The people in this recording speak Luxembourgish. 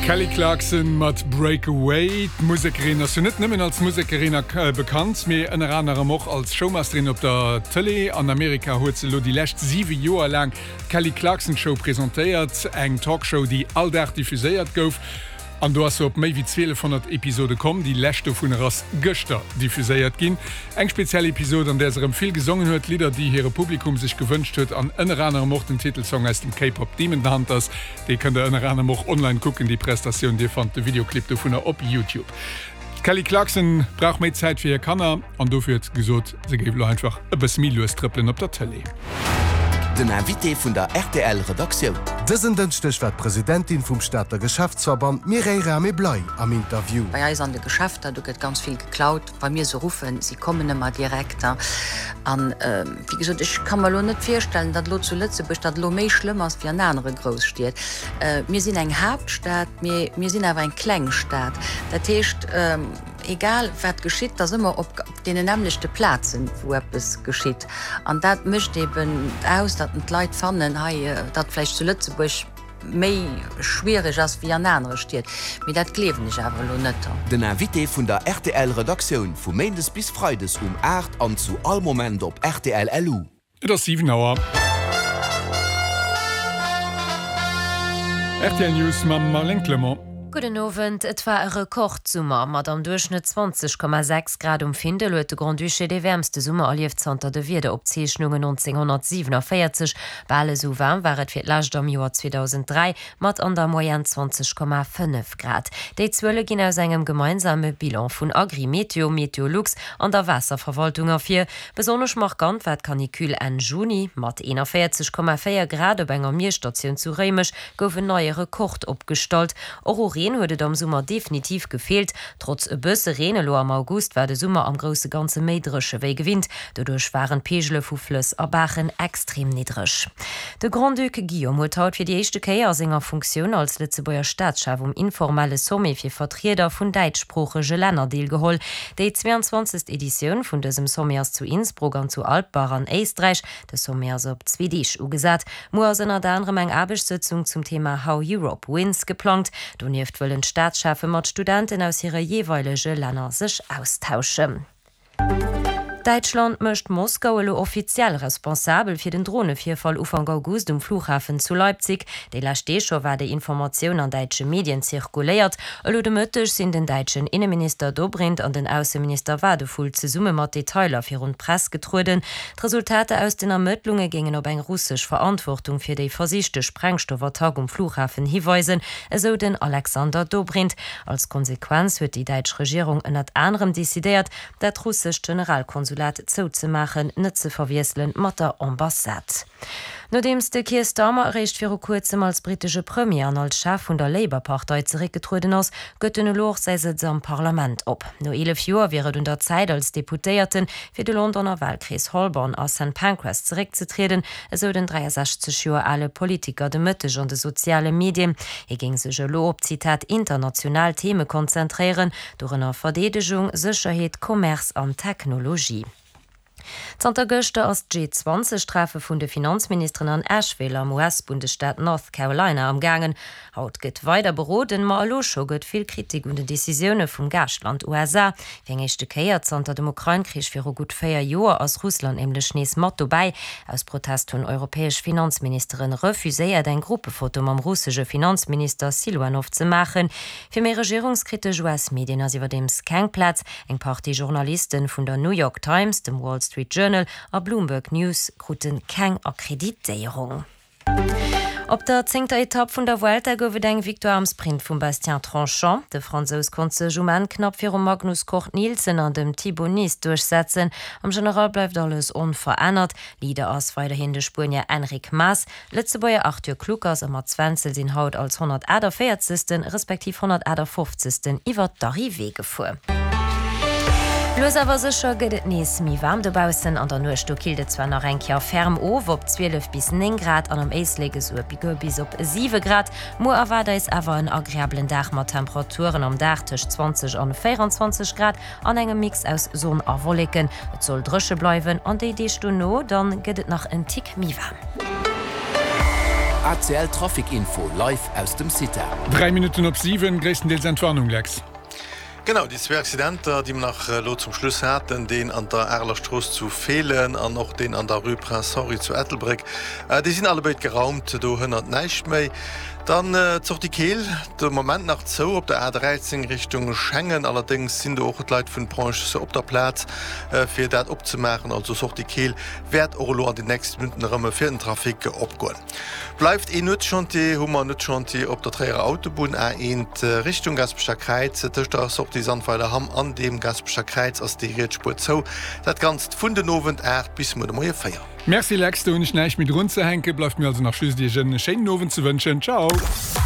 D'Kelly Clarkson mat Break Away. D'Musekerin ass jo net nëmmen als Musekerin bekannt, mee ënner anerem och als Showmasterin op der Tëlee. An Amerika huet se elo déi lescht 7 Joer laang d'Kelly Clarkson Show presentéiert, eng Talkshow, déi all Dag diffuséiert gouf. An do ass se op méi wéi 1200 Episode komm. Déi lescht dovunner ass gëschter diffuséiert ginn. Eng speziell Episod, an där se erëm vill gesongen huet, Lidder, déi hire Publikum sech gewënscht huet an ënner anerem och den Titelsong aus dem K-Pop Demon Hunters. Dee kënnt der ënner anerem och online kucken, déi Prestatioun. Dir fannt de Videoclip dovunner op Youtube. D'Kelly Clarkson brauch méi Zäit fir hir Kanner an dofir huet se gesot, se géif elo einfach e bësse méi lues trëppelen op der Tëlee. Den Invité vun der rtl Redaktioun. Dësen Dënschdeg war d'Presidentin vum Stater Geschäftsverband Mireille Rahmé-Bley am Interview. Bei eis an de Geschäfter, do gëtt ganz vill geklaut. Wa mir se ruffen, si kommen ëmmer direkt. An, wéi gesot, ech ka mer elo net virstellen, datt elo zu Lëtzebuerg dat elo méi schlëmm ass wéi an anere Grousstied. Mir sinn eng Haaptstad, mee mir sinn awer eng kleng Stad. Dat heescht, egal wat geschitt, et ass ëmmer op deenen nämmlechte Plazen, wou eppes geschitt. An dat mécht eeben aus, datt d'Leit fannen, hei, datt vläicht zu Lëtzebuerg, méi schwiereg ass wéi an anere Stied, mee dat gleewen ech awer elo net. Den Invité vun der rtl Redaktioun vu Méindes bis Freides um 8 an zu all Moment op rtl LU. Et ass 7 Auer. Rtl News mam Marlène Clement. Gudden Owend. Et war e Rekordsummer. Mat am Duerchschnëtt 20,6 Grad um Findel huet de Grand-Duché dee wäermste Summer erlieft zanter de Wiederopzeechnungen 1947. Bal esou waarm war et fir d'lescht am Joer 2003, mat an der Moyenne 20,5 Grad. Déi Zuele ginn aus engem gemeinsame Bilan vun Agrimeteo, Meteolux an der Waasserverwaltung ervir. Besonnesch markant war d'Canicule Enn Juni. Mat 41,4 Grad op enger Miesstatioun zu Réimech gouf en neie Rekord opgestallt. Och u Reen huet et am Summer definitiv gefeelt. Trotz e bësse Reen elo am August war de Summer am grousse Ganze méi dréche wéi gewinnt. Doduerch waren d'Peegele vu Flëss a Baachen extrem niddreg. De Grand-Duc Guillaume huet haut fir déi éischte Kéier a senger Funktioun als Lëtzebuerger Staatschef um informelle Sommet fir Vertrieder vun däitschsproochege Länner deelgeholl. Déi 22. Editioun vun dësem Sommet ass zu Innsbruck an zu Alpbach an Éisträich. De Sommet ass op zwee Deeg ugesat. Muer ass ënnert anerem eng Aarbechtssëtzung zum Thema How Europe Wins geplangt. Donieft wëllen d'Staatscheffe mat Studenten aus hire jeeweilege Länner sech austauschen. Däitschland mécht Moskau elo offiziell responsabel fir den Dronevirfall Ufank August um Flughafen zu Leipzig. Déi lescht Deeg scho war déi Informatioun an däitsche Medien zirkuléiert. Elo de Mëtteg sinn den däitschen Inneminister Dobrindt an den Ausseminister Wadephul zesumme mat Detailer virun d'Press getrueden. D'Resultater aus den Ermëttlunge géingen op eng russesch Verantwortung fir déi versichte Sprengstoffattack um Flughafen hiweisen, esou den Alexander Dobrindt. Als Konsequenz huet déi däitsch Regierung ënnert anerem decidéiert, dat russescht Generalkonsulat zouzemaachen, net ze verwiesselen mat der Ambassade. Nodeems de Keir Starmer eréischt viru kuerzem als brittesche Premier an als Chef vun der Labour-Partei zeréckgetrueden ass, gëtt en elo och säi Sëtz am Parlament op. No 11 Joer wier et un der Zäit als Deputéierte fir de Londoner Walkrees Holborn a St Pancras zeréckzetrieden, esou den 63 Joer ale Politiker de Mëtteg an de soziale Medien. Hie géing sech elo op, Zitat, international Theme konzentréieren, dorënner Verdeedegung, Sécherheet, Commerce an Technologie. Zanter gëschter ass d'G-20 Treffe vun de Finanzministeren an Asheville am US-Bundesstaat North Carolina am gaangen. Haut gëtt weider beroden, ma elo scho gëtt vill Kritik un den Decisioune vum Gaaschtland USA. Fir eng éischte Kéier zanter dem Ukrain-Krich viru gutt 4 Joer ass Russland nämlech nees mat dobäi. Aus Protest hunn europäesch Finanzministeren refuséiert eng Gruppefoto mam russesche Finanzminister Siluanov ze maachen. Fir méi regierungskritesch US-Medien ass iwwerdeems keng Plaz. Eng Partie Journalisten vun der New York Times, dem Wall Street Journal a Bloomberg News krute keng Akkreditéierung. Op der zéngter Etapp vun der Vuelta gouf et eng Victoire am Sprint vum Bastien Tronchon. De Fransous konnt sech um Enn knapp virum Magnus Cort Nielsen an dem Thibau Nys duerchsetzen. Am General bleift alles onverännert. Leader ass weiderhin de Spuenier Enric Mas. Lëtzebuerger Arthur Kluckers a Mats Wenzel sinn haut als 148. Respektiv 158. Iwwer d'Arrivée gefuer. Lues awer sécher gëtt et nees méi waarm dobaussen. An der Nuecht do killt et zwar nach eng Kéier ferm of op 12 bis 9 Grad an am Éislek esouguer bis op 7 Grad. Muer erwaart eis awer en agreabelen Dag mat Temperaturen am Dag tëscht 20 an 24 Grad an engem Mix aus Sonn a Wolleken. Et soll dréche bleiwen an déi Deeg dono dann gëtt et nach en Tick méi waarm. ACL Trafic Info live aus dem CITA. 3 Minutten op 7, gréisstendeels Entwarnung, Lex. Genau, déi zwee Accidenter, déi mer nach elo zum Schluss haten, deen an der Areler Strooss zu Feelen an och deen an der Rue Prince Henri zu Ettelbréck, déi sinn allebéid geraumt, do hënnert näischt méi. Dann d'Sortie Keel, de Moment nach zou op der A13 Richtung Schengen. Allerdéngs sinn do och d'Leit vun Ponts op der Plaz, fir dat opzemaachen. Also Sortie Keel wäert och elo an den nächste Minutten erëm fir den Trafic opgoen. Bleift een Nuetschantier, hu mer Nuetschantier op der Tréierer Autobunn A1 Richtung Gaspecher Kräiz. Tëscht der Sortie Sandweiler-Hamm an dem Gaspecher Kräiz ass déi riets Spuer zou. Dat Ganzt vun den Owend 8 bis muer de Moie 4. Merci Lex, do hunn ech näischt méi drun ze hänken. Bleift mir also nach just iech en schéinen Owend ze wënschen. Ciao!